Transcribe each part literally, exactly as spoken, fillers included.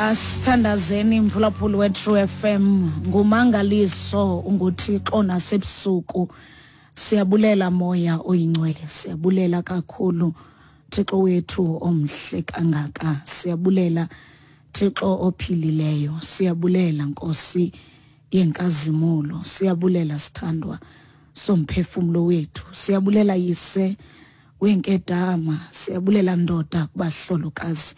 Asithandazeni, mphulaphuli we-True F M. Ngumangaliso, unguThixo nasebusuku. Siyabulela, Moya Oyingcwele, siyabulela kakhulu, Thixo wethu omhle kangaka. Siyabulela, Thixo ophilileyo. Siyabulela, Nkosi yenkazimulo. Siyabulela, sithandwa somphefumlo wethu. Siyabulela, Yise wenkedama. Siyabulela, ndoda kubahlolokazi.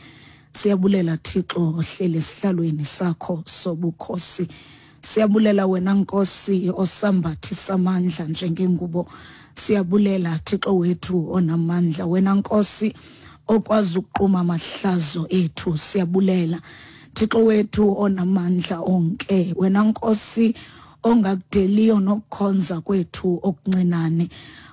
Siyabulela, Thixo ohleli esihlalweni sakho sobukhosi. Siyabulela wena, Nkosi, osambathisa amandla njengengubo. Siyabulela, Thixo wethu onamandla, wena Nkosi okwazi ukuquma amahlazo ethu. Siyabulela, Thixo wethu onamandla onke, wena Nkosi ongakudeliyo nokukhonza kwethu okuncinane.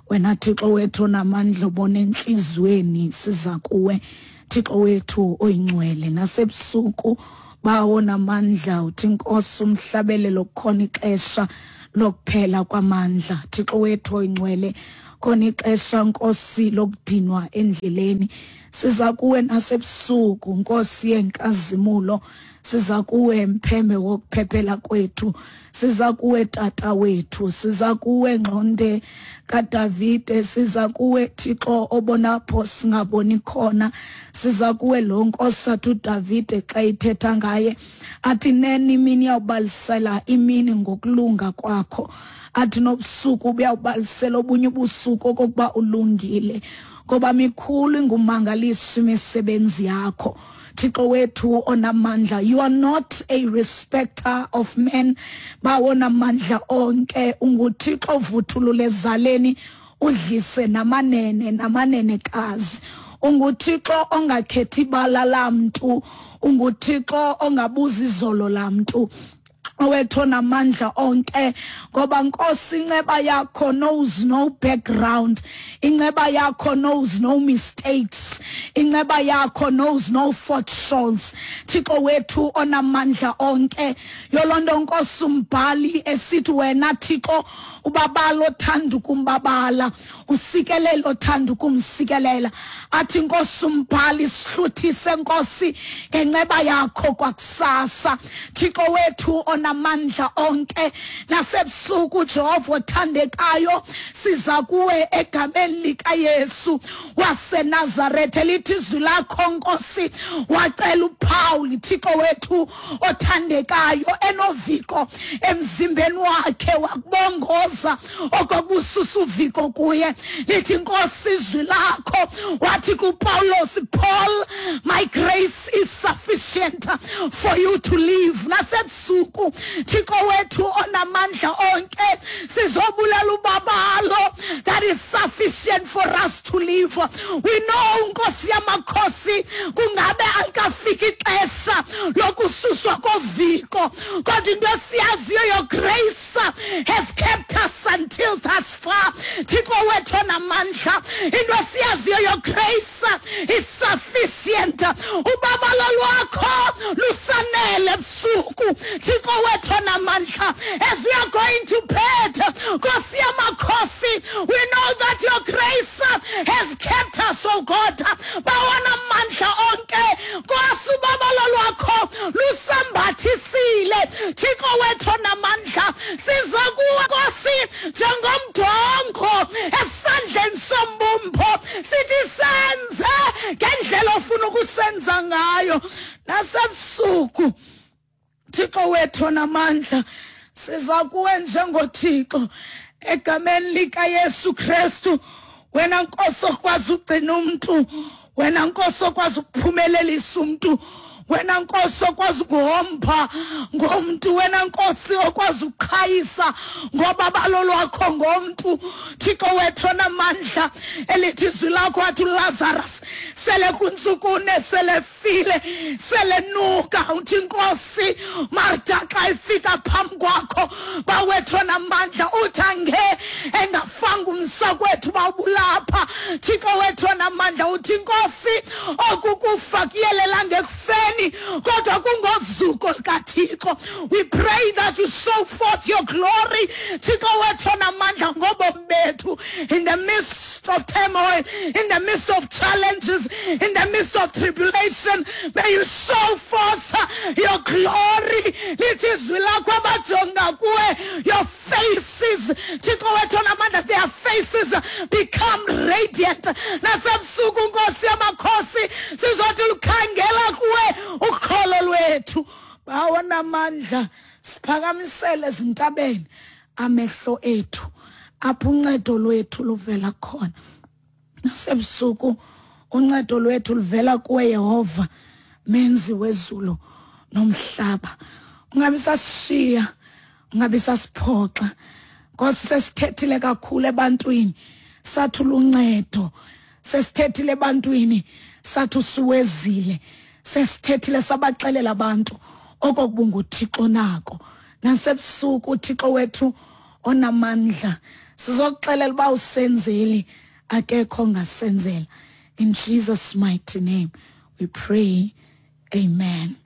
Wena Thixo wethu onamandla, obona entliziyweni, siza kuwe, Thixo wethu oyingcwele, nasebusuku, Bawo namandla. Uthi, Nkosi, umhlabelelo, kukhona ixesha lokuphela kwamandla. Thixo wethu oyingcwele, khona ixesha, Nkosi, lokudinwa endleleni. Siza kuwe nasebusuku, Nkosi yenkazimulo. Siza kuwe, mpheme wokuphephela kwethu. Siza kuwe, tata wethu. Siza kuwe, ngxonde kaDavide. Siza kuwe, Thixo obonapho singaboni khona. Siza kuwe lo Nkosi athi uDavide xa ithetha ngaye athi, "Nene imini iyawubalisela imini ngokulunga kwakho," athi nobusuku buyawubalisela obunye ubusuku okokuba ulungile, ngoba mikhulu ingumangaliso imisebenzi yakho, Thixo wethu onamandla. You are not a respecter of men, Bawo namandla onke. UnguThixo ovuthulula ezaleni, udlise namanene namanenekazi. UnguThixo ongakhethi ibala lamntu. UnguThixo ongabuzi izolo lamntu, owethu namandla onke, ngoba, Nkosi, inceba yakho knows no background, inceba yakho knows no mistakes, inceba yakho knows no shortfalls, Thixo wethu onamandla onke. Yolonto, Nkosi, umbhali esithi wena, Thixo, ubabala othanda ukumbabala, usikelela othanda ukumsikelela. Athi, Nkosi, umbhali, sihluthise, Nkosi, ngenceba yakho kwakusasa, Thixo wethu onamandla onke. Nasebusuku, Jehova othandekayo, siza kuwe egameni likaYesu waseNazaretha. Lithi izwi lakho, Nkosi, wacela uPaul, Thixo wethu othandekayo, enoviko emzimbeni wakhe, wakubongoza okokususa uviko kuye. Lithi, Nkosi, izwi lakho, wathi kuPawulos, "Paul, my grace is sufficient for you to live." Nasebusuku, Thixo wethu onamandla onke, sizobulela ubabalo that is sufficient for us to live. We know, Nkosi yamakhosi, kungabe alikafiki ixesha lokususwa koviko, kodwa into esiyaziyo, your grace has kept us until thus far, Thixo wethu onamandla. Into esiyaziyo, your grace is sufficient. Ubabalo lwakho lusanele ebusuku, Thixo wethu onamandla. As we are going to bed, Nkosi yamakhosi, we know that your grace has kept us, oh God. Bawo namandla onke, Nkosi, ubabalo lwakho lusambathisile, Thixo wethu onamandla. Siza kuwe, Nkosi, njengomdongo esandleni sombumbo, sithi senze ngendlela ofuna ukusenza ngayo. Nasebusuku, Thixo wethu namandla, siza kuwe njengoThixo egameni likaYesu Kristu. Wena, Nkosi, okwazi ugcina umuntu, wena, Nkosi, okwazi ukuphumelelisa umuntu, wena, Nkosi, okwazi ukuhomba ngomntu, wena, Nkosi, okwazi ukuqhayisa ngobabalo lwakho ngomntu, Thixo wethu onamandla. Elithi izwi lakho, wathi uLazarus sele kuntsukune sele file, sele nuka. Uthi, Nkosi, Marta xa ifika phambi kwakho, Bawethu onamandla, uthi ange engafanga umsakwethu bawubulapha. Thixo wethu onamandla, uthi, Nkosi, oku kufa kuyelela ngekufeni, kodwa kungozuko likaThixo. We pray that you show forth your glory, Thixo wethu onamandla, ngobomi bethu in the midst of turmoil, in the midst of challenges, in the midst of tribulation. May you show forth Bawonamandla, siphakamisele ezintabeni amehlo ethu, apho uncedo lwethu luvela khona. Nasebusuku uncedo lwethu luvela kuwe Yehova, menzi wezulu nomhlaba. Ungabi sasishiya, ungabi sasiphoxa. Nkosi, sesithethile kakhulu ebantwini, sathi luncedo. Sesithethile ebantwini, sathi usuwezile. Sesithethile sabaxelela abantu okokuba unguThixo nako. Nasebusuku uThixo wethu onamandla, sizokuxelela uba usenzeli, akekho ongasenzela. In Jesus' mighty name we pray, amen.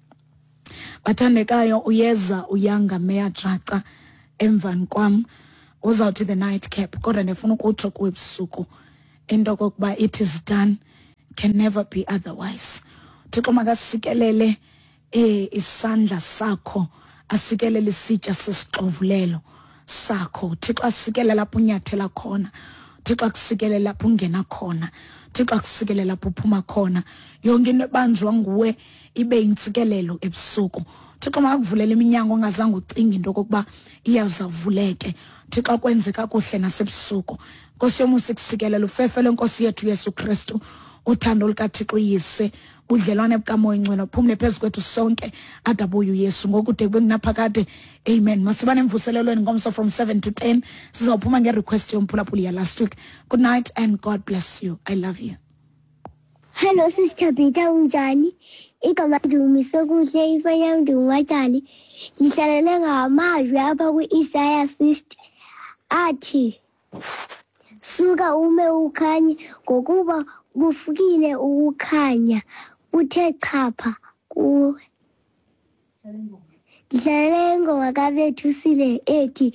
Bathandekayo, uyeza uyanga Meya Jaca emvani kwam, uzawuthi the night cap, kodwa ndifuna ukutsho kuwe ebusuku into okokuba it is done, can never be otherwise. Thixo makasikelele eh isandla sakho, asikelele isitya sesixovulelo sakho. Thixo asikelele lapho unyathela khona, Thixo akusikelele lapho ungena khona, Thixo akusikelele lapho uphuma khona. Yonke into ebanjwa nguwe ibe intsikelelo ebusuku. Thixo makakuvulela iminyango ongazange ucinge into okokuba iyawuzavuleke. Thixo akwenze kakuhle nasebusuku. Nkosi yomusa ikusikelele, ufefe lwenkosi yethu Yesu Kristu, uthando lukaThixo uyise, budlelwane bukaMoya Ingcwele uphumle phezu kwethu sonke ade abuye uYesu ngokude kube ngunaphakade, amen. Masibane emvuselelweni ngomso from seven to ten. Sizawuphuma ngerequest yomphulaphuli ya last week. Good night and God bless you. I love you. Hello Sister Peter, unjani? Igama Ndumisokuhle, ifani yam ndinguMatshali. Ndihlalele ngamazwi apha kwi-Isaya sixty athi, suka ume ukhanye, ngokuba kufikile ukukhanya kuthe chapha kuwe. Ndihlalele ingoma kaBethusile ethi